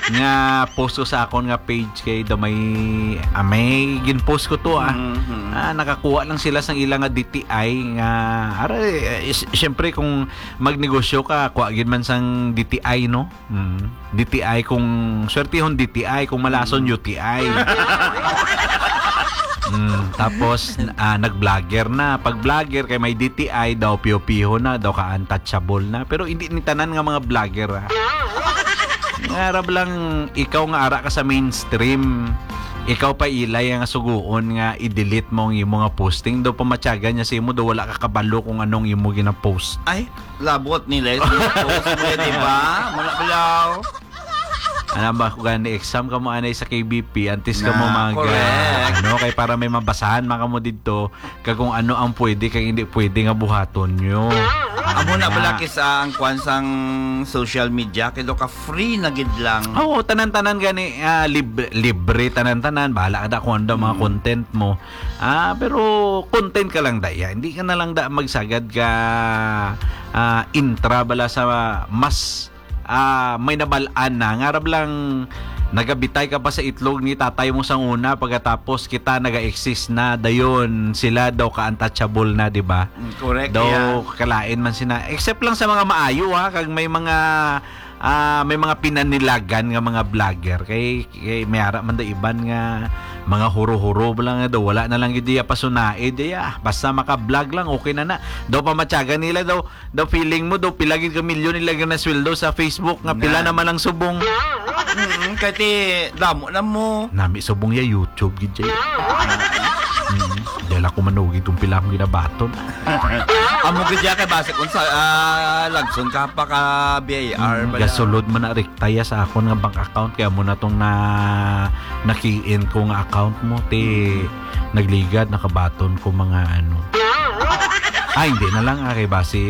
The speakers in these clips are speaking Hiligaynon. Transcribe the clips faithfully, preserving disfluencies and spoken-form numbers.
nga post ko sa akon nga page kay daw may, ah, may gin-post ko to, ah. Mhm. Ah, nakakuha lang sila sang ila nga D T I nga, ara, eh, s-, siyempre kung magnegosyo ka, kuha gid man sang D T I, no? Mm. D T I kung swertihon D T I, kung malason Mm. U T I. Mm, tapos, ah, nag-vlogger na. Pag vlogger kay may D T I daw, piyo-piyo na, daw ka-untouchable na. Pero hindi ni tanan nga mga vlogger, ah. Nga arab lang, ikaw nga ara ka sa mainstream, ikaw pa ilay nga suguon nga i-delete mo ang imo nga posting. Daw pamatyagan niya sa imo, daw wala ka kabalo kung anong imo ginapost. Ay, labot nila yung post mo, di ba? Mga balaw. Ano ba, kung gani exam ka mo anay sa K B P, antes ka mo Na, mag, correct. ah, ano, kay para may mabasahan man ka mo didto, kag kung ano ang pwede kag hindi pwede nga buhaton nyo. Amo na Ah. bala kisa ang kwan sang social media, kay do ka free na gid lang. Oo, tanan-tanan gani, ah, lib-, libre, tanan-tanan. Bahala ka da kung ano daw mga Mm. content mo. Ah, pero content ka lang da, ya. Hindi ka na lang da magsagad ka, ah, intra bala sa mas, ah, may nabal-an na. Nga rab lang, nagabitay ka pa sa itlog ni tatay mo sang una, pagkatapos kita naga-exist na, dayon sila daw ka-untouchable na, di ba? Mm, correct, Daw yeah. kalain man sina. Except lang sa mga maayo, ha, kag may mga, ah, may mga pinanilagan nga mga vlogger. Kay, kay may ara man daw iban nga mga huro-huro lang nga daw. Wala na lang gid diya pasunaid, diya. Basta maka-vlog lang, okay na na. Daw pamatyagan nila daw, daw feeling mo, daw pila gid ka milyon nila nga nasweldo sa Facebook, nga pila Nan. naman ang subong. Mm, kay ti, damo na mo. Nami subong ya YouTube gid jay. Mm. Dala ko manugid kung pila akong ginabaton. Amo gid ya kay base kung sa, ah, lagson ka pa ka B I R Mm, bala. gasulod man na rektaya sa akon nga bank account, kaya mo na tong na, na-key in ko nga account mo, ti Mm. nagligad, nakabaton ko mga ano. Ah, hindi na lang, ah, kay basi,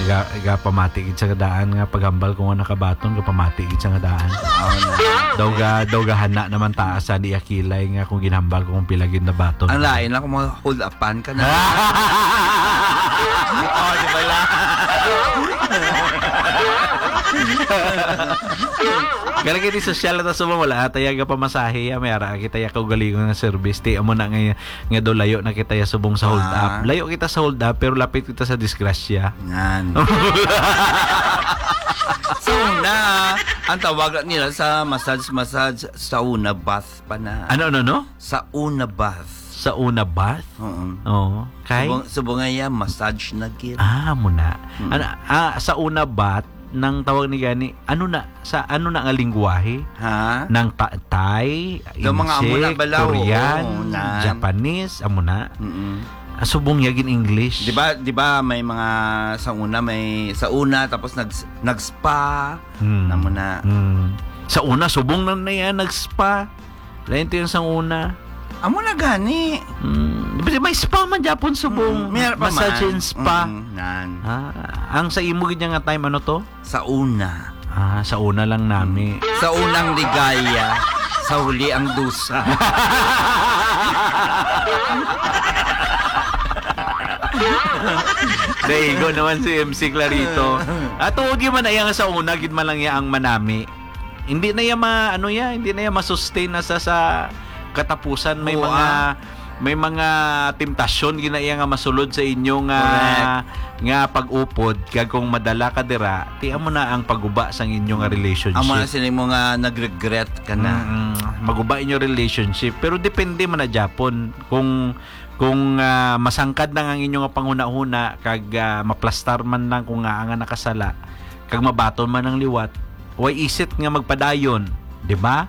ga-, gapamati gid sa daan nga paghambal ko nga nakabaton, gapamati gid sa daan. Oo na. Daw ga-, daw gahana naman taas sa di akilay nga kung ginhambal ko kung pila gid nabaton. Ang lain lang kung mga hold-upan ka na. Oh, di ba lang? Kaya lagi di sosyal na ta subong, wala ata yaga pamasahe, ya, may ara kita ya kaugalingon nga service. Ti, amo na nga, nga daw layo na kita ya subong sa hold Ah. up. Layo kita sa hold up, pero lapit kita sa disgrasya. Yan. Sa una, ang tawag nila sa massage, massage, sa una, bath pa na. Ano, ano, no? Sa una, bath. Sa una, bath? Oo. Oo. Kay? Subong, subong nga ya, massage na gid. Ah, muna. Mm. Ano, ah, sa una, bath, nang tawag ni gani, ano na, sa ano na nga lingwahe? Ha? Nang ta-, Thai, Daw mga amo na Insik, bala, oo, Korean, nan. Japanese, amo na. Mm-mm. Ah, subong ya gin English. Di ba, di ba may mga sa una, may sa una, tapos nag-, nag-spa, Hmm. na mo na. Hmm. Sa una, subong na na yan, nag-spa. Lain to yung sang una. Amo na gani. Hmm. Di ba may spa man, Japon, subong? Mm, may pa Massage man. and spa. Mm, nan. Ah, ang sa imo gid nga time, ano to? Sa una. Ah, sa una lang nami. Sa unang ligaya, sa huli ang dusa. Daigo naman si M C Clarito. At tuod gyud man, ay ang sa una, gid man lang iya ang manami. Hindi na iya ma-, ano iya, hindi na iya ma-sustain na sa, sa katapusan. May Oo, mga, ah. may mga temptasyon gina iya nga masulod sa inyo nga, Correct. nga pag-upod, kag kung madala ka dira, ti amo na ang paguba sang inyo nga relationship. Amo na sila mo nga nag-regret ka na. Mm-mm. Maguba inyo relationship, pero depende man na gyapon kung, kung, ah, masangkad na ang inyo nga panghunahuna kag, ah, maplastar man lang kung nga nga nakasala, kag mabaton man ang liwat, why is it nga magpadayon, di ba?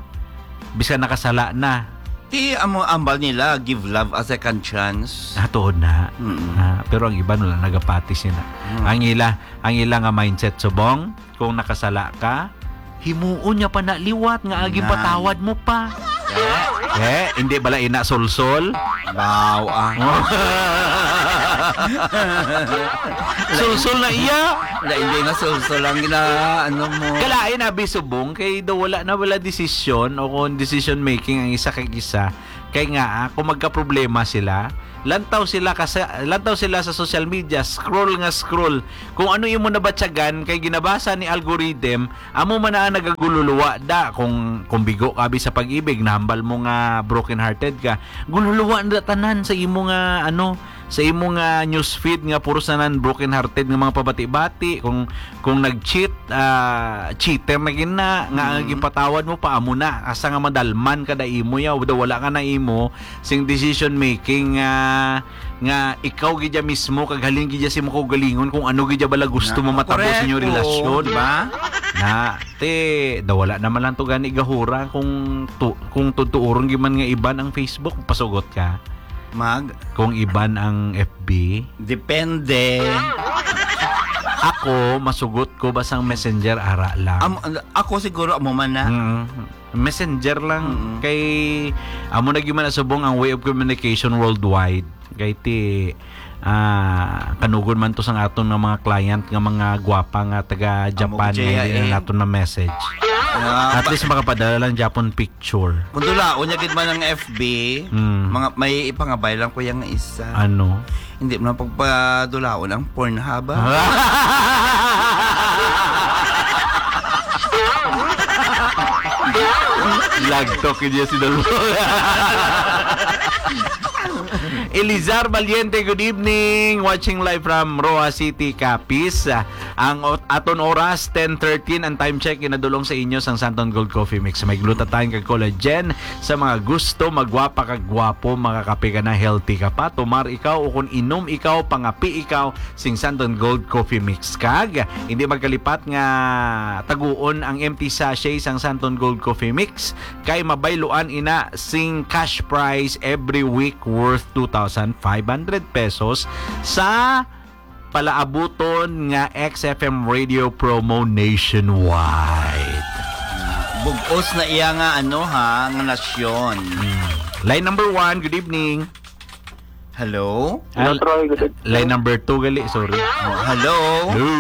Bisan nakasala na. Ti amo ambal nila, give love a second chance. Ah, tuod na. Mm-mm. Ah, pero ang iban wala nagapati sila. Mm. Ang ila, ang ila nga mindset subong, kung nakasala ka, himuon niya pa na liwat nga agi Na. patawad mo pa. Eh? Eh, hindi bala ina solsol? Baw, ah. Sulsol na iya. Wala, hindi nga sulsol ang gina-, ano mo. Kalain, abi, subong, kay daw wala na wala desisyon o kung decision making ang isa kag isa. Kay nga, ah, kung magkaproblema sila, lantaw sila ka sa, lantaw sila sa social media, scroll nga scroll. Kung ano imo nabatyagan, kay ginabasa ni algorithm, amo man na nagagululuwa da. Kung, kung bigo ka, abi, sa pag-ibig, nahambal mo nga broken-hearted ka, gululuwa na tanan sa imo nga, ano, sa imo nga newsfeed nga puro sa nan broken-hearted nga mga pabati-bati. Kung, kung nag-cheat, ah, cheater na gid na, nga ang Mm. ginpatawad mo pa, amo na, asa nga madalman ka da imo, ya, daw wala ka na imo sing decision making, ah, nga ikaw gid ya mismo, kag halin gid ya sa imo kaugalingon kung ano gid ya bala gusto Na, mo matabo sa inyong correct. Oo, relasyon. Di ba? Na, te, daw wala naman lang to gani gahura kung tu-, kung tutuuron gid man nga iban ang Facebook, pasugot ka. Mag? Kung iban ang F B? Depende. Ako, masugot ko ba sang Messenger, ara lang. Am-, ako siguro, amo man na. Mm. Messenger lang. Mm. Kay, amo na gyud man subong ang way of communication worldwide. Kay ti, ah, kanugon man to sang aton nga mga client nga mga gwapa nga taga Amo Japan, gid nga siya, hindi na eh. naton na message. Ah, At ba- least makapadala lang Japon picture. Kung dulaon niya gid man ang F B, Mm. mga, may ipangabay lang ko yang isa. Ano? Hindi mo lang pagpadulaon ang Pornhub, ah. Lagtok yun si Dolph. Elizar Valiente, good evening. Watching live from Roa City, Capiz. Ang ot-, aton oras, ten thirteen ang time check, ginadulong sa inyo sang Santon Gold Coffee Mix. May glutathione kag collagen sa mga gusto magwapa kag gwapo, makakape ka na, healthy ka pa. Tumar ikaw o kung inom ikaw, pangapi ikaw, sing Santon Gold Coffee Mix. Kag hindi magkalipat nga taguon ang empty sachet sang Santon Gold Coffee Mix, kay mabayluan ina sing cash prize every week worth two thousand five hundred pesos sa palaabuton nga X F M radio promo nationwide. Bug-os na iya nga, ano, ha, nga nasyon. Hmm. Line number one, good evening. Hello? Hello, Al-, Troy. Good evening. Line number two gali, sorry. Oh, hello? Hello?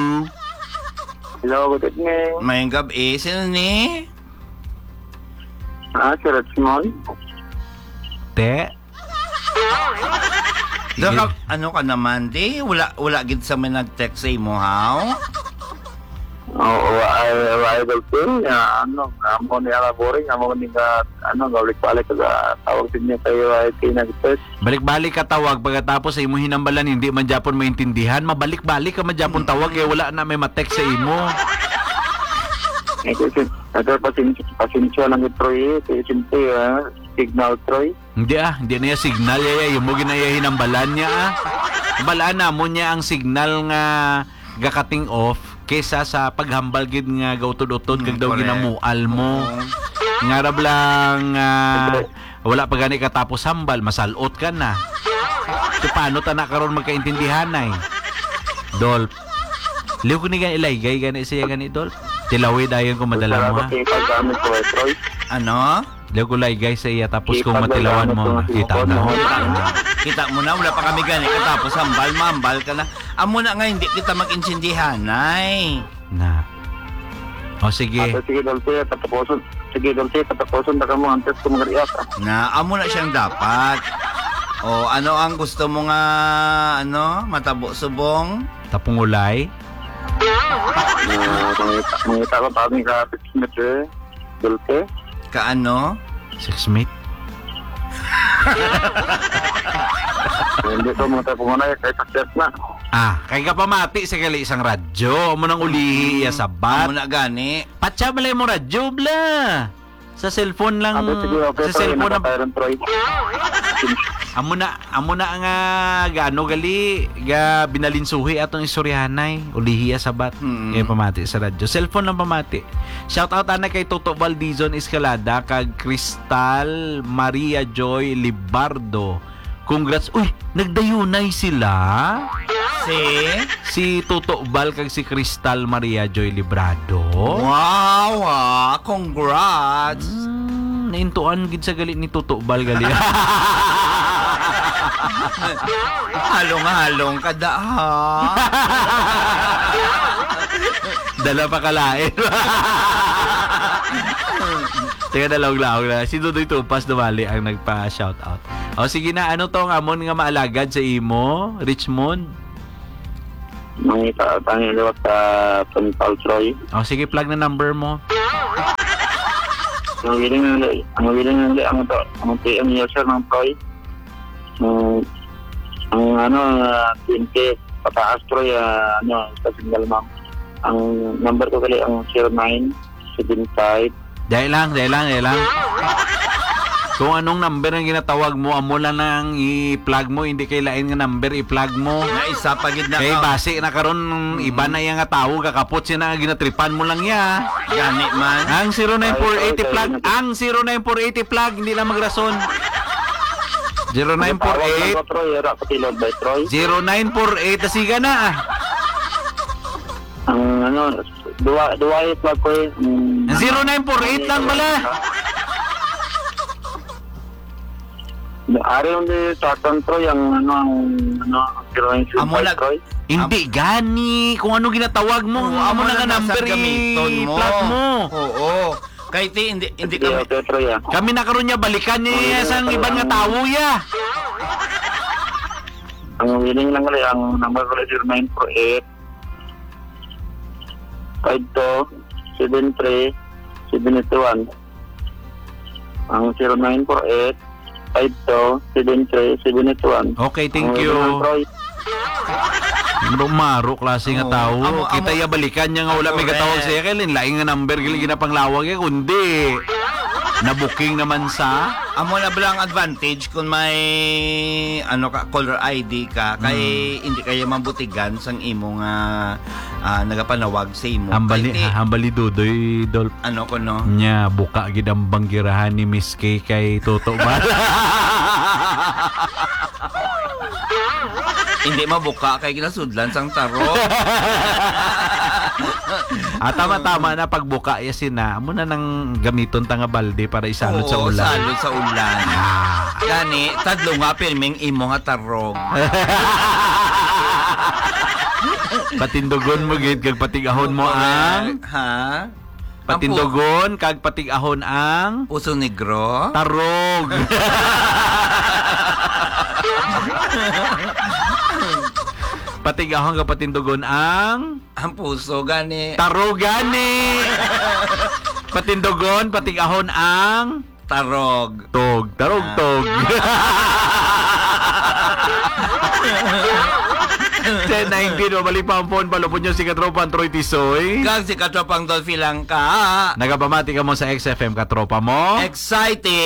Hello, good evening. Mayong gab-i. Sino ni? Ah, si Richmond. Te? Daka, ano ka naman, di? Wala, wala gid sa may nag-text sa imo, haw? Oo, ay, ay, Idol Phil, nga, ano, nga mo ni Ala Boring, nga mo ni nga, ano, nga balik-balik ka sa tawag sa inyo kayo, ay, tinag-text. Balik-balik ka tawag, pagkatapos sa imo hinambalan, hindi man gyapon maintindihan, mabalik-balik ka man gyapon tawag, kay wala na may ma-text sa imo. Eh, kasi, nagpapasensya, pasensya lang ito, eh, kasi siyempre, ah, signal, Troy. Hindi, ah, hindi na iya signal, iya, iya, imo ginaya hinambalan niya, ah. Balaan namon niya ang signal nga gakating off kesa sa paghambal gid nga gautod-utod kag Mm, daw correct. Ginamual mo. Oo. Nga rab lang, ah, wala pa gani katapos hambal, masalot ka na. So, paano ta na karon magkaintindihan, ay? Dolph. Liw ko ni gani, ilaygay gani siya gani, Dolph. Tilawi dayon kung madala mo, ha? Salamat sa paggamit ko, eh, Troy. Ano? Daw ko laygay sa iya, tapos kung matilawan mo, kita na. Kita mo na, wala pa kami gani katapos hambal, mambal ka na. Amo na nga, hindi kita mag-intindihan, ay. Na. O, sige. Ato, sige, Dulce, patapuson. Sige, Dulce, patapuson na ka mo, antes ko mag-react, ah. Na, amo na siyang dapat. O, ano ang gusto mo nga, ano, matabo subong? Tapungulay? Ah, mangita, mangita ko, tabi ka, Dulce. Kaano? Sex mate? Hindi ko mga tayo pumunay, kay sakit na. Ah, kay kapamati sa gali sang radyo, amo nang ulihi iya sabat. Amo na gani. Patsa balay mo radyo, bla. Sa cellphone lang, Ako, sige, okay, sa Troy, cellphone lang. Nakatayo lang, Troy. Amo na, amo na nga, gaano gali, ga binalinsuhi atong istoryahanay, ulihi iya sabat. Mm. Kay pamati sa radyo. Cellphone lang pamati. Shout out ana kay Toto Valdizon Escalada kag Crystal Maria Joy Libardo. Congrats. Uy, nagdayunay sila. Si? Si Toto Val kag si Crystal Maria Joy Librado. Wow, ah, congrats. Mm, naintuan gid sa gali ni Toto Val gali. Halong-halong ka da, ha? Dala pa kalain. Teka, dalaog-laog na. Si Dudoy Tupas dumali ang nagpa-shout out. O, sige na, ano to ang amon nga maalagad sa imo, Richmond? Mangita tayo liwat sa Puntal, Troy. O, sige, plug na number mo. Ang willing na, ang willing na, ang to, ang T M user ng Troy. Ang, ang ano, ah, twenty pataas, Troy, ah, ano, sa single mom. Ang number ko gali ang zero nine seven five. Dahil lang, dahil lang, dahil lang. Kung anong number ang ginatawag mo, amo lang nang i-plug mo, hindi kay lain nga number i-plug mo. Nga isa pa gid na Kay ka. Basi na karon, Mm. Iba na iya nga tawo, kakapot siya na, ginatripan mo lang iya. Gani man. Ang zero nine four eight Ay, i-plug, ay, ang zero nine four eight i-plug, hindi lang magrason. Zero nine four eight. Ang tawag lang ko, Troy, era ko tilog, bay, Troy. Zero nine four eight, siga na, ah. Ang ano, duwa, duwa i-plug ko eh. Mm. Zero nine four eight lang bala. Ari yung di Saturn, Troy, ang ano, ang ano, ang zero nine zero five, Amo na, Troy. Hindi gani. Kung ano ginatawag mo, Oo, amo amo na na nga nasa number gamiton mo. I-plug mo. Oo. Kay ti, hindi, hindi Sige, kami okay, Troy, ah. Kami na karon niya, balikan niya Oo, iya sang Troy, iban nga ang tawo, ya. Ang willing lang gali, ang number ko zero nine four eight, five two, seven three, seven eight one. Ang zero nine four eight, five two, seven three, seven eight one. Okay, thank Ang you. Willing lang, Troy. Maro-maro klase nga Oo. Tawo. Amo, Kita amo. Iya balikan niya nga wala may Correct. Gatawag sa iya, kay lain-lain nga number gali ginapanglawag iya, kundi nabuking naman sa Amo na bala ang advantage kung may, ano ka, caller I D ka, kay Mm. hindi kayo mabutigan sang imo nga, ah, nagapanawag sa imo. Hambali, Kay ti-, ha, hambali Dudoy, Dol. Ano ko, no? Nya, buka gid ang banggirahan ni Miss K kay Toto Bala. Hindi mabuka kay ginasudlan sang tarong. Ah, tama-tama na pagbuka ya sina. Amo na nang gamiton ta nga balde para isalod sa Oo, ulan. Salod sa ulan. Ah. Gani, tadlo nga pirming imo nga tarong. Patindugon mo gid kag patig-ahon mo ang Correct. Ha? Patindugon kag patig-ahon ang Puso Negro? Tarog. Patig-ahon kag patindugon ang Ang puso gani. Tarog gani. Patindugon, patig-ahon ang Tarog. Tog. Tarog, Ah. tog. Ten nineteen, mabalik pa ang phone, palupod niyo si Katropang Troy Tisoy. Kag si Katropang Dolphy Langka. Nagapamati kamo sa X F M, Katropa mo. Exciting.